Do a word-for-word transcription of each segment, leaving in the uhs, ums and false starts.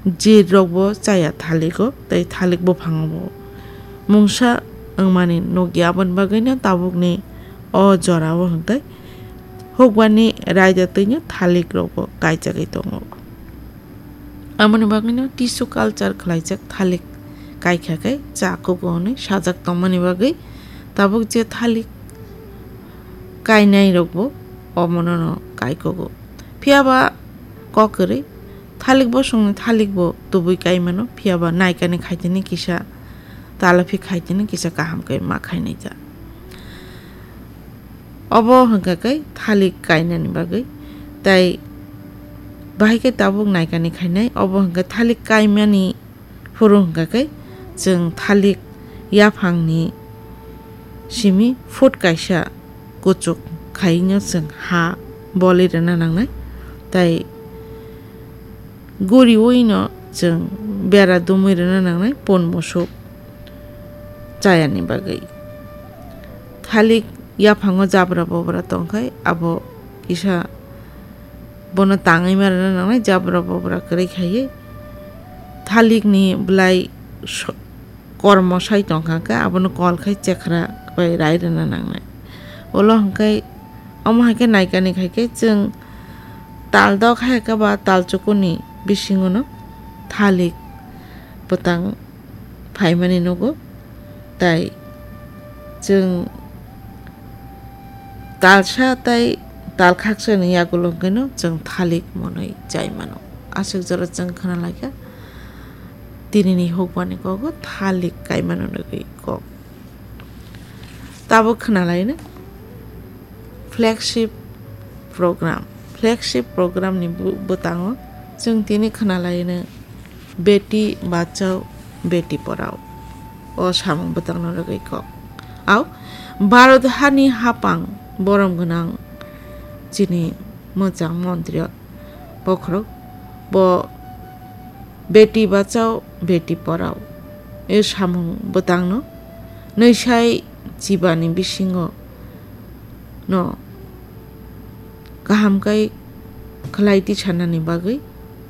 jir rok bo chaya thalik o, tei thalik buphang o bo mungsa wngmani nukya. Aboni bagwi no tabuk ni o jora o hwnkhe hukbani raida twi no thalik rok bo kaijagwi tongo. Aboni bagwi no tissue culture khlaijak thalik kaikha khe cha kugo hwnwi sajak tongmani bagwi tabuk je thalik kainai rok bo omono no kaikugo. Phiya ba kok kwrwi thalik bosongni thalik bo tubui kai mano, phiya ba naikani khaitini kisa talaphi khaitini kisa kaham khe ma khainai ta. Obo hwnkha khe thalik kainani bagwi, tai bahai khe tabuk naikani khainai. Obo hwnkha thalik kaimani phuru hwnkha khe chwng thalik yaphangni simi foot kaisa kuchuk khaino chwng ha bolwi rwna nangnai, tai guriwi no chwng bera dumwi rwna nangnai pun musuk chayani bagwi. Thalik yaphango jabra bobra tongkhai abo kisa bono tangwi ma rwna nangnai, jabra bobra kwrwi khaiwi thalikni bwlai so-, kormo sai tongkha khe abono kol khai chekhra bai rai rwna nangnai. Ulo hwnkhe omo hai khe naikani khai khe chwng tal dok hai khe ba tal chukuni bisingo no thalik bwtang phaimani nugo. Tai chwng talsa tai tal khaksa ni yagulo hwnkhe no chwng thalik monwi chai mano. Aswk jora chwng khna laikha tinini hukbani kogo thalik kaimano nugwi kok. Tabuk khna laino flagship program. Flagship program ni bu-, bwtango chwng tini khna laino Beti Bachao, Beti Padhao. O samung bwtangno rwgwi kok. Au, Bharat hani hapang borom gwnang chini mwchang montri bokhorok bo Beti Bachao, Beti Padhao. E samung bwtangno nwisai chibani bisingo no kaham kai khlai tisanani bagwi,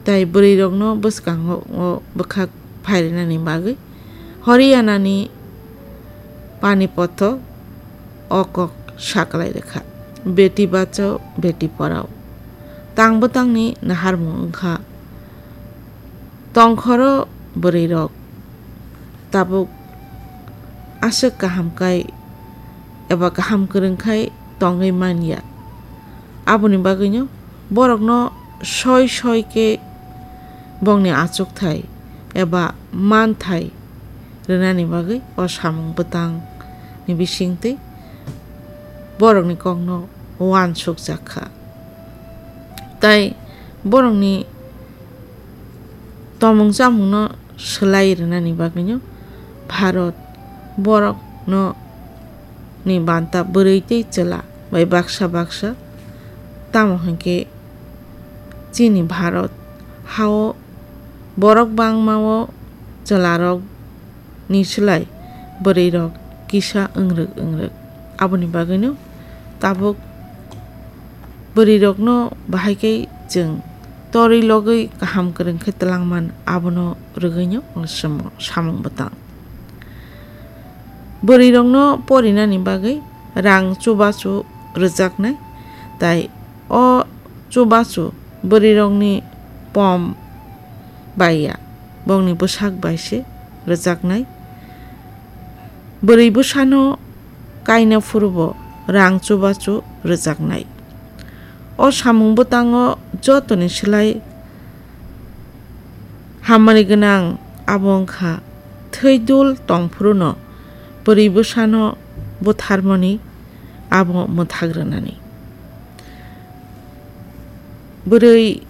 tai bwrwirokno bwskango o bwkhak phairwnani bagwi Haryana ni Panipat o kok saklai rwkha, Beti Bachao, Beti Padhao. Tang bwtangni naharmung wngkha tongkhoro bwrwirok tabuk aswk kaham kai eba kaham kwrwng khai tongwi manya. Aboni bagwino borokno soi soi khe bongni achukthai eba manthai rwnani bagwi o samung bwtangni bisingtwi borokni kokno uansukjak kha. Tai borokni tomung chamungno swlai rwnani bagwino Bharat borokno ni banta bwrwi tei chwla bai baksa baksa, tamo hwnkhe chini Bharat hao borok bangmao chwlarok ni slai bwrwirok kisa wngrwk wngrwk. Aboni bagwino tabuk bwrwirokno bahai khe chwng torwi logwi kaham kwrwng khe twlangman, abono rwgwino samung bwtang. Bwrwirokno porinani bagwi rang chubachu rwjaknai, tai o chubachu bwrwirokni pom bai ya, bongni bwsak bai se rwjaknai. Bwrwi bwsano kaina phurubo rang chubachu rwjaknai. O samung bwtango jotoni slai hamari gwnang abo wngkha thwi dul tong phuruno bwrwi bwsano butharmani abo mwthak rwnani. Bwrwi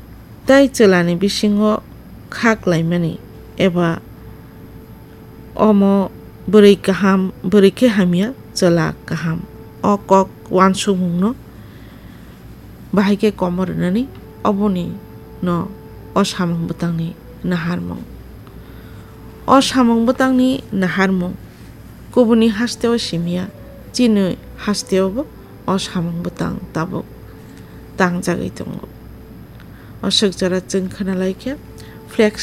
tai chwlani bisingo kha klaimani eba omo bwrwi kaham, bwrwi khe hamya, chwla kaham. O kok uansukmungno bahai khe komo rwnani, oboni no o samung bwtangni naharmung. O samung bwtangni naharmung kubuni hasteo simiya, chini hasteo bo o samung bwtang tabuk tangjagwi tongo. O swk jora chwng khna lai khe flex